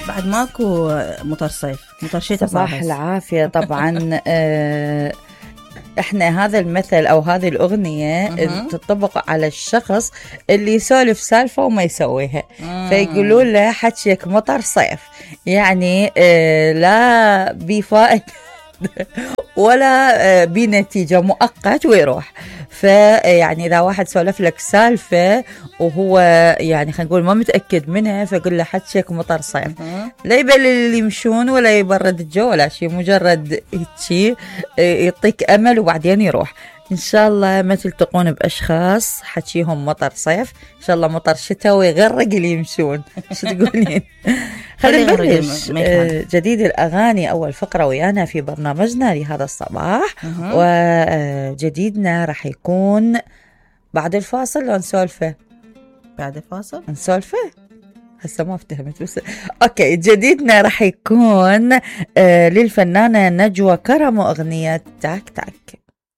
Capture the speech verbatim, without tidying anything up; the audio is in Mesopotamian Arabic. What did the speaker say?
بعد ماكو مطر صيف، مطر شتاء. صباح العافية. طبعا آه احنا هذا المثل او هذه الاغنية تطبق على الشخص اللي يسولف سالفة وما يسويها، فيقولوا له حكيك مطر صيف، يعني اه لا بفائدة ولا بنتيجة، مؤقت ويروح. فيعني إذا واحد سولف لك سالفة وهو يعني خلينا نقول ما متأكد منها، فقل له حكيك مطر صيف، لا يبل اللي يمشون ولا يبرد الجو ولا شيء، مجرد شيء يعطيك أمل وبعدين يروح. إن شاء الله ما تلتقون بأشخاص حكيهم مطر صيف، إن شاء الله مطر شتاء ويغرق اللي يمشون. شو تقولين؟ خلينا نبلش جديد الأغاني. أول فقرة ويانا في برنامجنا لهذا الصباح، وجديدنا راح يكون بعد الفاصل. لو نسولفه بعد الفاصل نسولفه هسه ما افتهمت بس اوكي. جديدنا راح يكون آه للفنانة نجوى كرم وأغنية تاك تاك.